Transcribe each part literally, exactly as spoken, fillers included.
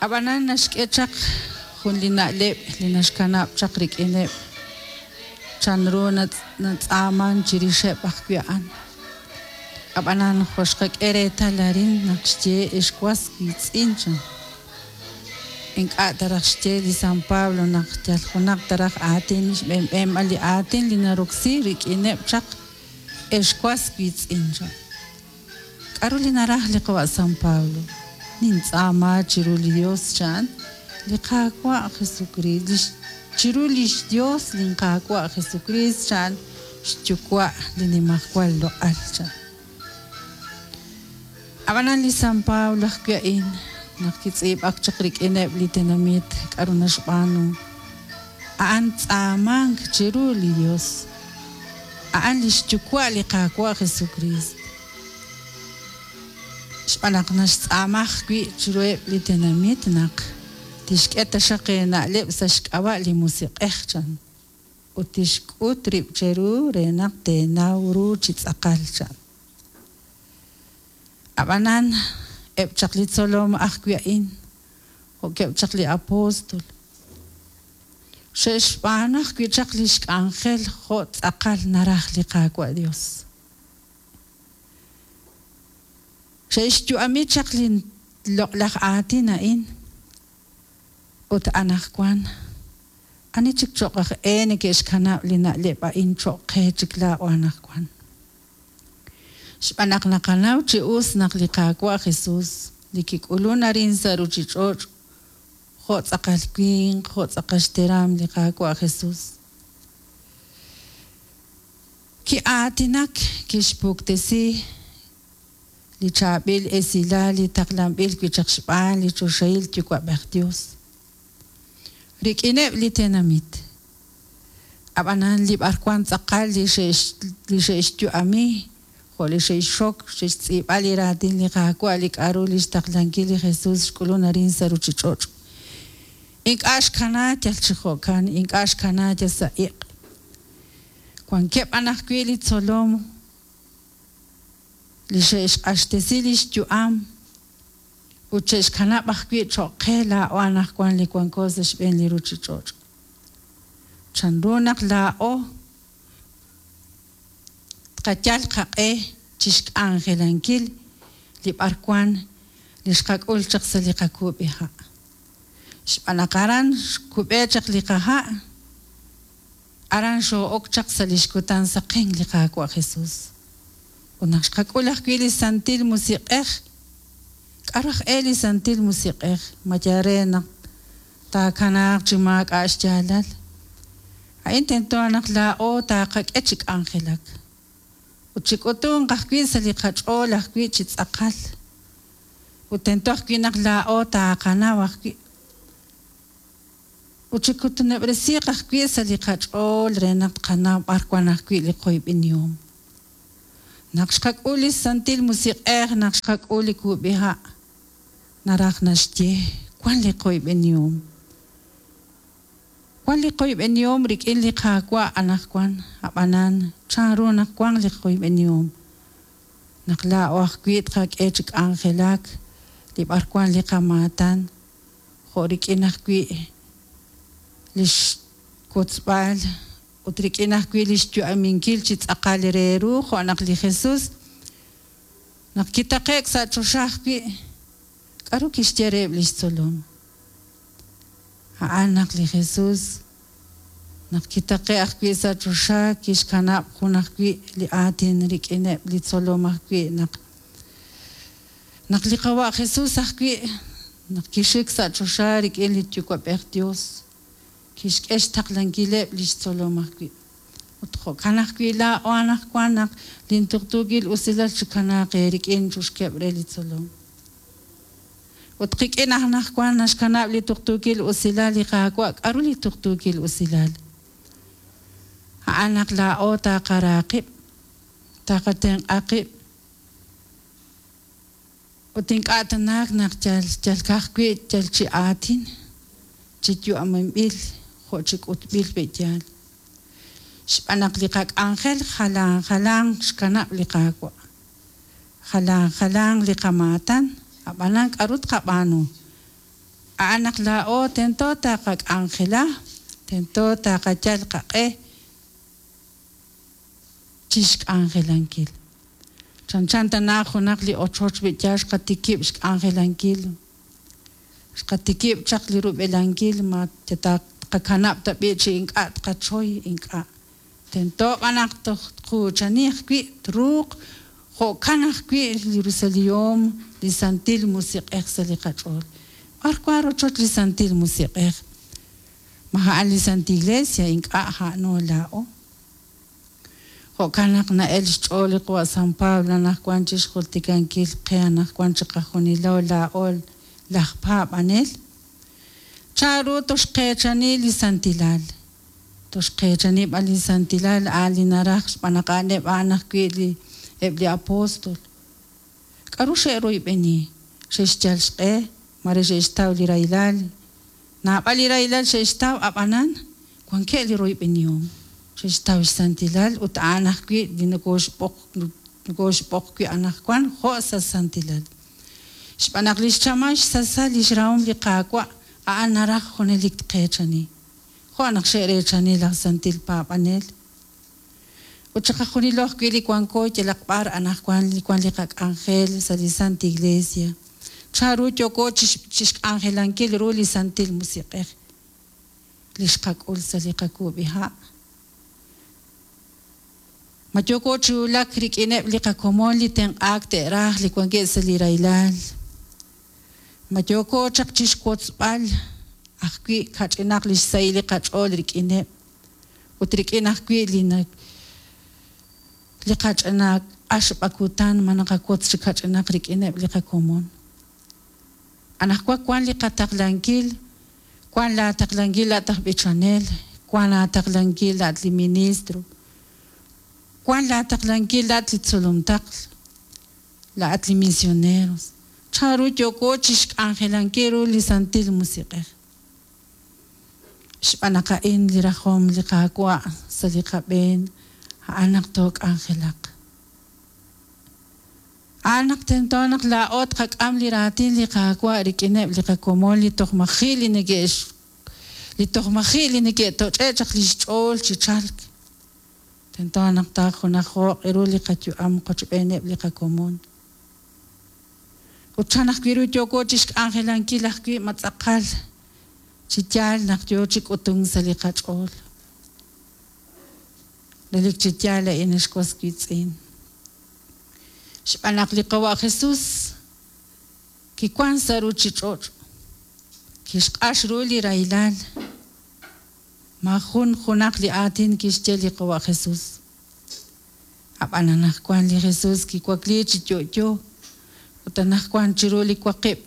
Ab'anan naxk'e chaq jun li na'leb' li naxkanab' chaq rik'ineb' chanru natz'aaman chirixeb' ajwi' a'an. Ab'anan jo' xqak'e reetal arin naq xye ex was wiitz'in chan. Ink'a' taraj xye li San Pablo naq yal junaq taraj aatin xb'eenb'eenb'al li aatin li naroksi rik'ineb' chaq ex was wiitz'in chan. K'aru li naraj li qawa' San Pablo? Nintz'aama chiru li Dios chan li Qaawa' Jesukriist chiru lix Dios linQaawa' Jesukriist chan xyuwa' li nimajwal loq'al chan. Ab'anan li San Pablo ajwi' a'in naq kitz'iib'ak chaq rik'ineb' li tenamit k'aru naxb'aanu a'an tz'aamank chiru li Dios a'an li xyuwa' li Qaawa' Jesukriist. Xb'aan naq naxtz'aama ajwi' chiruheb' li tenamit naq tixk'e taxaq eena'leb' sa' xk'ab'a' li Musiq'ej chan ut tixk'ut rib' cheru re naq teenaw ru chi tz'aqal chan. Ab'anan eb' chaq li tzolom ajwi' a'in jo'keb' chaq li apóstol xe'xb'aanu ajwi' chaq li xk'anjel jo' tz'aqal naraj li Qaawa' Dios. Xe'xyu'ami chaq li loq'laj aatin a'in ut anaqwan ani chik cho'q aj e neke'xkanab' li na'leb' a'in cho'q qe chik laa'o anaqwan. Xb'aan naq naqanaw chi us naq li Qaawa' Jesus li kik'ulun arin sa' ruuchich'och' jo' tz'aqal winq jo' tz'aqal xteram li Qaawa' Jesus. Ki'aatinak kixpuktesi li chaab'il esilal li taqlanb'il wi' chaq xb'aan li choxahil yuwa'b'ej Dios. Rik'ineb' li tenamit. Ab'anan li b'arwan tz'aqal li xe'x li xe'xyu'ami jo' li xe'xxok xe'xtz'iib'a li raatin li Qaawa' li k'aru li xtaqlankil li Jesus xk'ulun arin sa' ruuchich'och'. Ink'a' xkana yal chi jo'kan, ink'a' xkana yal sa' iq'. Wankeb' b'an ajwi' li tzolom li xe'xq'axtesi li xyu'am ut xe'xkanab' ajwi' cho'q qe laa'o anaqwan li wanko sa' xb'een li ruuchich'och'. Chanru naq laa'o tqayal qaq'e chi xk'anjelankil li b'arwan li xqak'ul chaq sa' li qakuub'iha'. Xb'aan naq aran xkub'e chaq li qaha', aran xoo'ok chaq sa' li xkutan saqen li Qaawa' Jesus. Ut naq xqak'ul ajwi' li Santil Musiq'ej, k'aru aj e li Santil Musiq'ej ma yal re naq taakanaaq chi maak'a' xyaalal. A'in tento naq laa'o taaqak'e chi k'anjelak. Ut chik'utunq ajwi' sa' li qach'ool ajwi' chi tz'aqal. Ut tento ajwi' naq laa'o taaqanaw ajwi'. Ut chikutuneb'resiiq ajwi' sa' li qach'ool re naq tqanaw b'ar wan ajwi' li qoyb'enihom. Naq xqak'ul li Santil Musiq'ej naq xqak'ul li kub'iha' naraj naxye wan li qoyb'enihom. Wan li qoyb'enihom rik'in li Qaawa' anaqwan ab'anan chanru naq wan li qoyb'enihom. Naq laa'o ajwi' tqak'e chi k'anjelak li b'arwan li qamaatan jo' rik'in ajwi' li xkotzb'al ut rik'in ajwi' li xyu'aminkil chi tz'aqal re ru jo' naq li Jesus naq kitaqe'k sa' choxa ajwi' k'aru kixye reheb' li xtzolom. A'an naq li Jesus naq kitaqe' ajwi' sa' choxa kixkanab' jun ajwi' li aatin rik'ineb' li tzolom ajwi' naq naq li qawa' Jesus ajwi' naq kixik sa' choxa rik'in li yuwa'b'ej Dios kixk'e xtaqlankileb' li xtzolom ajwi'. Ut jo'kan ajwi' laa'o anaqwan naq lintuqtuukil usilal chikanaaq eerik'in chuxkeb' re li tzolom. Ut qik'in anaqwan naxkanab' li tuqtuukil usilal li Qaawa' k'aru li tuqtuukil usilal. A'an naq laa'o taaqara qib', taaqatenq'a qib'. Ut ink'a' tanaak naq yal yal ka'ajwi' yal chi aatin chi yu'aminb'il jo' chi k'utb'il pe'yaal. Xb'aan naq li qak'anjel jalan jalan xkanab' li Qaawa'. Jalan jalan li qamaatan ab'anan k'aru tqab'aanu. A'an naq laa'o tento taqak'anjela, tento taqayal qaq'e chixk'anjelankil. Chanchan tana junaq li ochoch b'i yaal xqatikib' xk'anjelankil, xqatikib' chaq li rub'elankil ma taqakanab' ta b'i chi ink'a' tqachoy ink'a'. Tento b'an naq toj tquuchani ajwi' truuq jo'kan ajwi' li rusilihom li Santil Musiq'ej sa' li qach'ool. B'ar wan rochoch li Santil Musiq'ej? Ma a'an li Santa Iglesia ink'a' a'ano laa'o. Jo'kan naq na'el xch'ool li qawa' San Pablo anaqwan chixjultikankil qe anaqwan chiqajunilo laa'o laj paab'anel. Chanru toxqeechani li santilal? Toxqeechani b'an li santilal a'an li naraj xb'aan naq a'aneb' a'an ajwi' li eb' li apóstol. K'aru xe'royb'eni? Xe'xyal xq'e, mare xe'xtaw li rahilal. Naab'al li rahilal xe'xtaw ab'anan wankeb' li royb'enihom. Xe'xtaw xsantilal ut a'an ajwi' li nokoxb'oq nokoxb'oq wi' anaqwan jo' sa' santilal. Xb'aan naq li xchamal xsasal li xrahom li Qaawa' a'an naraj junelik tqeechani. Jo' naq xe'reechani laj santil paab'anel. Ut chiqajunilo ajwi' li wanko yalaq b'ar anaqwan li wan li qak'anjel sa' li Santa Iglesia. Chanru yooko chixk'anjelankil ru li Santil Musiq'ej li xqak'ul sa' li qakuub'iha'. Ma yooko chi wulak rik'ineb' li qakomon li tenq'aak te'raj li wankeb' sa' li rahilal. Ma yooko chaq chixwotzb'al ajwi' kach'inaq li xsahil li qach'ool rik'ineb' ut rik'in ajwi' li li qach'ina q'axb'akutan ma naqawotz chi kach'inaq rik'ineb' li qakomon. Anaqwan wan li qataqlankil, wan laataqlankil laat aj b'ichanel, wan laataqlankil laat li ministro, wan laataqlankil laat li tzolomtaql, laat li misioneros. Chanru yooko chixk'anjelankil ru li Santil Musiq'ej. Xb'aan naq a'in li rajom li Qaawa' sa' li qab'een, a'an naq took'anjelaq. A'an naq tento naq laa'o tqak'am li raatin li Qaawa' rik'ineb' li qakomon li toj maji' li neke'x li toj maji' li neke'toch'e' chaq li xch'ool chi chalk. Tento naq taajunajo'q ru li qayu'am qochb'eeneb' li qakomon. Ut chan ajwi' ru yooko chixk'anjelankil ajwi' ma tz'aqal chi yaal naq yoo chi k'utunk sa' li qach'ool. Relik chi yaal a'in ex was wiitz'in. Xb'aan naq li qawa' Jesús kiwan sa' ruchich'och', kixq'ax ru li rahilal. Ma jun junaq li aatin kixye li qawa' Jesús. Ab'an anaqwan li Jesús kiwakli chi yo'yo ut anaqwan chiru li waqib'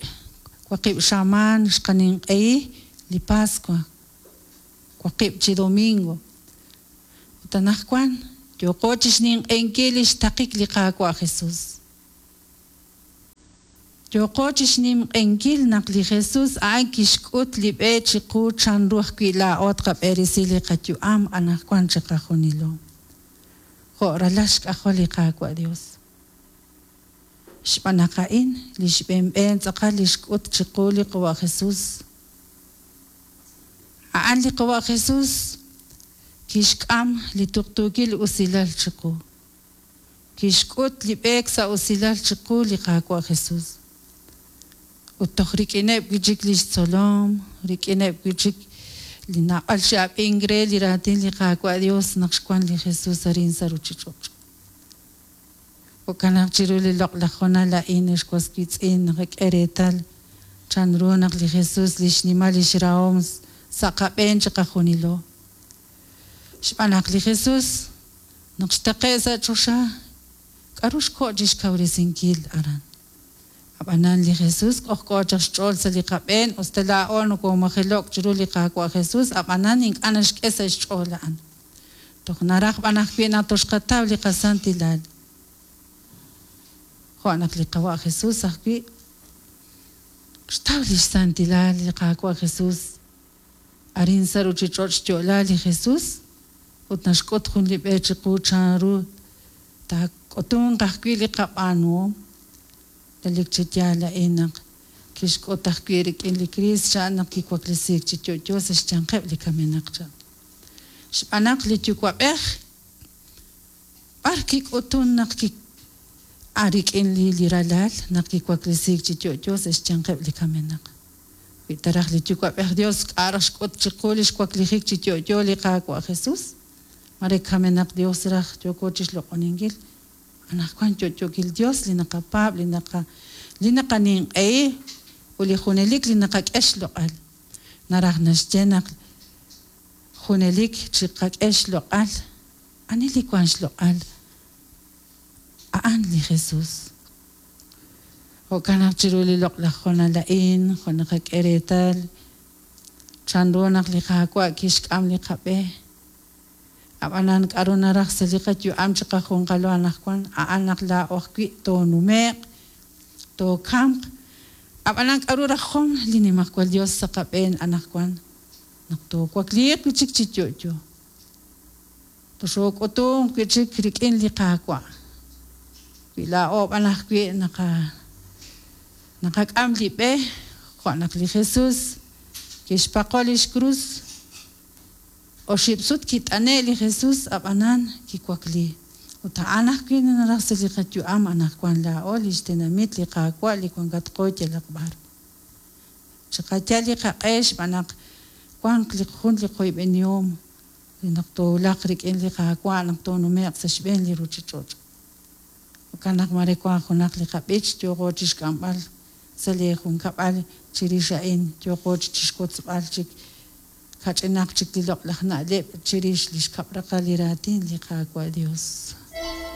waqib' xamaan xqaninq'ehi li Pascua, waqib' chi domingo. Ut anaqwan yooko chixninq'ehinkil li xtaqik li Qaawa' Jesús. Yooko chixninq'ehinkil naq li Jesús a'an kixk'ut li b'e chiqu chanru ajwi' laa'o tqab'eresi li qayu'am anaqwan chiqajunilo. Jo' ralal xk'ajol li Qaawa' Dios. Xb'aan naq a'in li xb'een tz'aqal li xk'ut chiqu li qawa' Jesús. A'an li qawa' Jesús kixk'am li tuqtuukil usilal chiqu. Kixk'ut li b'eek sa' usilal chiqu li Qaawa' Jesús. Ut toj rik'ineb' wi' chik li xtzolom, rik'ineb' wi' chik li naab'al xe'ab'ink re li raatin li Qaawa' Dios naq xwan li Jesús arin sa' ruchich'och'. Jo'kan naq chiru li loq'laj honal a'in ex was wiitz'in naqak'e reetal chanru naq li Jesús li xnimal li xrahom sa' qab'een chiqajunilo. Xb'aan naq li Jesús naq xtaqe' sa' choxa k'aru xko' chixkawresinkil aran. Ab'anan li Jesús k'ojk'o chaq xch'ool sa' li qab'een usta laa'o nokomajelo'k chiru li Qaawa' Jesús ab'anan ink'a' naxk'e sa' xch'ool a'an. Toj naraj b'an ajwi' naq toxqataw li qasantilal. Jo' naq li qawa' Jesús ajwi' xtaw li xsantilal li Qaawa' Jesús. Arin sa' ruchich'och' xyo'la li Jesús ut naxk'ut jun li b'e chiqu chanru taak'utunq ajwi' li qab'aanuhom. Relik chi yaal a'in naq Kixk'ut ajwi' rik'in li Kriist chan naq kiwaklesiik chi yo'yo sa' xyanqeb' li kamenaq chan. Xb'aan naq li Yuwa'b'ej b'ar kik'utun naq ki a rik'in li li ralal naq kiwaklesiik chi yo'yo sa' xyanqeb' li kamenaq. Wi ta raj li Yuwa'b'ej Dios k'a' raj xk'ut chiqu li xwaklijik chi yo'yo li Qaawa' Jesus, mare kamenaq Dios raj yooko chixloq'oninkil. Anaqwan yo'yookil Dios li naqapaab', li naqa li naqaninq'ehi ut li junelik li naqak'e xloq'al. Naraj naxye naq junelik chiqak'e xloq'al. Ani li wank xloq'al? A'an li Jesus. Jo'kan naq chiru li loq'laj hoonal a'in, jo' naqak'e reetal chanru naq li Qaawa' kixk'am li qab'e. Ab'anan k'aru naraj sa' li qayu'am chiqajunqalo anaqwan, a'an naq laa'o ajwi' toonume'q, tookamq. Ab'anan k'aru rajom li Nimajwal Dios sa' qab'een anaqwan naq toowakliiq wi' chik chi yo'yo. Toxook'utunq wi' chik rik'in li Qaawa'. Wi laa'o b'an ajwi' naqa naqak'am li b'e jo' naq li Jesus kixpaqo lix krus. Oxib' sut kit'ane' li Jesus ab'anan kiwakli. Ut a'an ajwi' naraj sa' li qayu'am anaqwan laa'o li xtenamit li Qaawa' li wankatqo yalaq b'ar. Chiqayal li qaq'e xb'aan naq wanq li jun li qoyb'enihom li naq toowulaq rik'in li Qaawa' naq toonume'q sa' xb'een li ruuchich'och'. Jo'kan naq mare wank junaq li qab'ich yooqo chixk'amb'al sa' li junkab'al chirix a'in yooqo chixwotzb'al chik kach'inaq chik li loq'laj na'leb' chirix li xkab' raqal li raatin li Qaawa' Dios.